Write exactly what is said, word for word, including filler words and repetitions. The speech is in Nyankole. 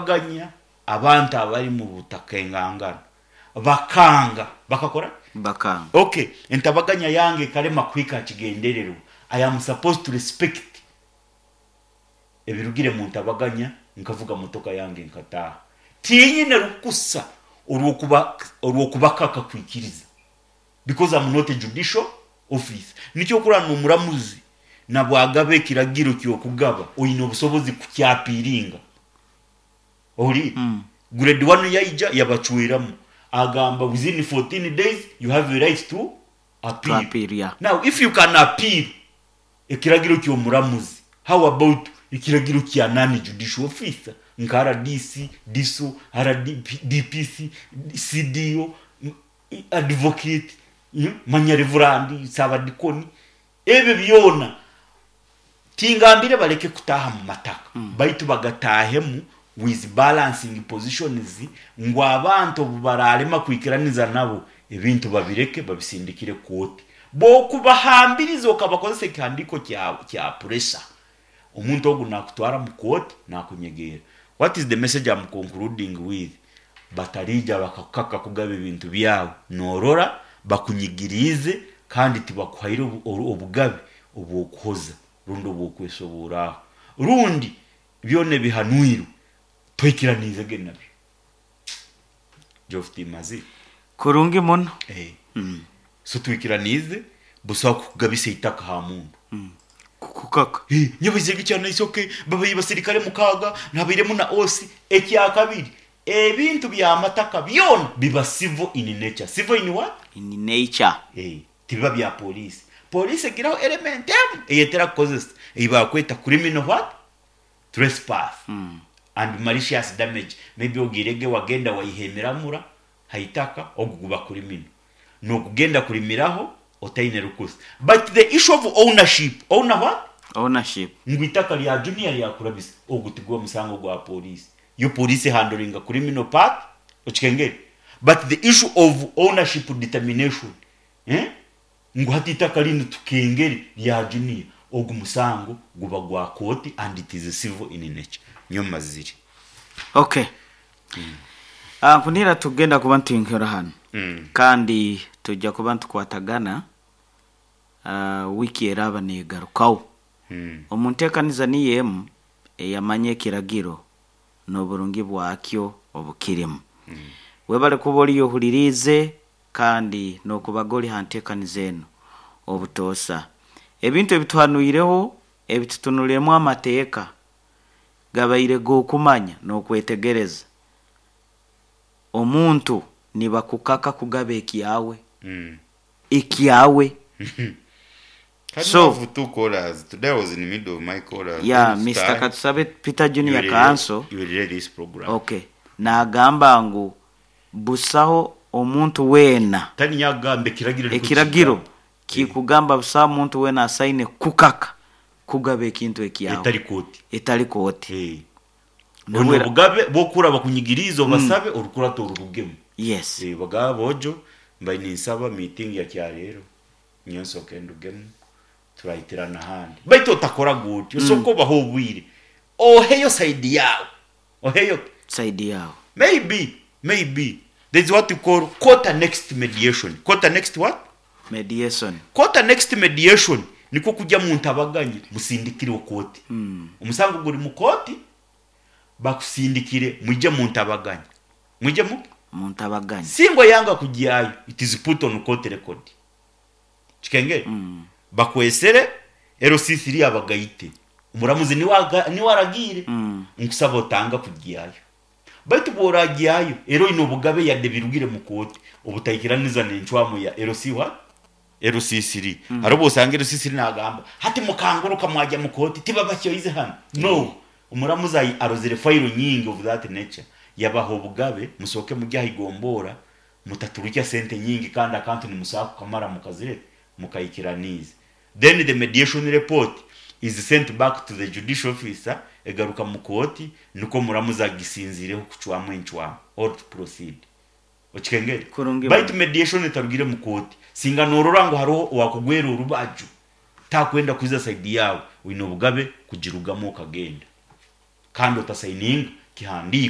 Ganya abantu abari mu butaka engangano bakanga bakakora. Bakanga. Okay, entabaganya yange ekarema kuhika kigendererwa, I am supposed to respect ebirugire mu ntabaganya, nkavuga motoka yange nkataaha. Tinyine rukusa orwokuba orwokubakaka kwikiriza, because I'm not a judicial office. Nikyo kurana omuramuzi nabwagaba ekiragiro kyokugaba, oyine obusobozi kukyapiringa ohuri. Mm. Grade one yaija yabacweramu, agamba within fourteen days you have a right to appeal. To appeal, yeah. Now if you can appeal ekiragiro ky'omuramuzi, how about ekiragiro kya nani judicial officer nka R D C, D S O, R D P, D P C, C D O, m- advocate, mm, manya reverend, sabadikoni, ebyo byona? Tingambire baleke kutaha mu mataka mm. Baitu bagatahemu with balancing positions, ngu abantu obu bararema kwikiraniza nabo, ebintu babireke, babisindikire kooti. Bokubahambiriza okabakozesa ekihandiko kya, kya pressure, omuntu ogu nakutwara mu kooti nakunyegera. What is the message I'm concluding with? Batarija bakakukaka kugaba ebintu byawe, norora bakunyigiriize kandi tibakuhaire obu- obu- obugabe obwokuhoza rundi obwokwesoboraho, rundi byona ebihanwirwe toikiraniizege nabyo. Jofutimazi. Kurungi muno. Eh. Mm. So twikiraniize busaho kukugabisa itaka ha mundu. Kukaka. Eh, nyabaizege kyana isoke babayi basirikare mukaaga nabairemu na osi. Ekyakabiri, ebintu byamataka byona biba civil in nature. Civil in what? In nature. Eh, tibiba bya polisi. Polisi egiraho element emu eyetera kukozesa eyibakweta criminal what? Trespass mm. and malicious damage. Maybe ogirege wagenda waihemeramura haitaka, ogu guba criminal, nokugenda kulimiraho otaine rukusa. But the issue of ownership, owner what? Ownership. Ngu itaka lya Junior lyakurabisa, ogu tigwa musango gwa polisi. Yo polisi handlinga criminal part, okikengere? But the issue of ownership determination, eh? Ngu hati itaka linu tukengere lya Junior, ogu musango guba gwa kooti and it is civil in nature. Niyo maziri. Okay, mm. Nkunira tugenda kuba ntuyinkera hano mm. kandi tujja kuba ntukwatagana uh, wiki eraba negarukaho mm. omu nteekaniza niyo emu eyamanya ekiragiro n'oburungi bwakyo obukirimu. mm. Webale kuba oriyo ohuririize kandi n'okubaga ori ha nteekaniza eno obutoosa. Ebintu ebituhanuireho, ebitutunuliremu amateeka gabaire g'okumanya n'okwetegereza. Omuntu nibakukaka kugaba ekyawe, Mm. ekyawe. Can So- have two callers. Today I was in the middle of my callers. Ya. Then Mister start. Katusabe Peter You Junior will Kanso. You will hear this program. Okay, nagamba ngu busaho omuntu weena. Tani nyagamba ekiragiro niko Ekiragiro kigamba. kikugamba busaho omuntu weena asaine kukaka kugaba ekintu ekyawe. Etari kooti. Etari kooti. Eh. Nabwera- Ono obugabe bwokura bakunyigiriza, obasabe orukurata orurugemu. Yes. Eh, bagaba bojo mbaye ninsaba meeting ya kyarero nyensoke ndugemu, turayitirana ahandi. Baitu otakora gutyo, mm. Soko baho obwire, oheyo side yawe, oheyo side yawe. maybe maybe there's what you call court annexed mediation. Court annexed what? Mediation. Court annexed mediation niko kujya mu ntabaganya musindikire kooti. mm. Omusango guri mu kooti, bakusindikire mujye mu ntabaganya, mujye mu mu ntabaganya. Singo yanga kujyayo, it is put on court record, kikengere? mm. Bakwesere L C three abagayite, umuramuzi niwe aga- niwe aragire. Mm. Nkusaba otanga kujyayo, baitu bworagyayo ero ino obugabe yadde birugire mu kooti obutaikiraniza n'encwamu ya L C what? L C three. mm. Hariho bwosanga L C three nagamba hati mukanguruka mwajya mu kooti, tibabakyoize hano. No, omuramuzi ayi- arozere fayiro nyingi of that nature, yabaha obugabe, musoke mujye ahigombora, mutaturukya sente nyingi kandi akantu nimusaba kukamara mukazire mukayikiraniza. Then the mediation report is sent back to the judicial officer, egaruka mu kooti, niko muramuzi agisinzireho kucwamu encwamu or to proceed, okikengere? Kurungi. Baitu mediation etarugire mu kooti, singa norora ngu hariho owakugwera orubaju takwenda kwiza side yawe, wine obugabe kugirugamu okagenda kandi otasayininga Kihandiiko.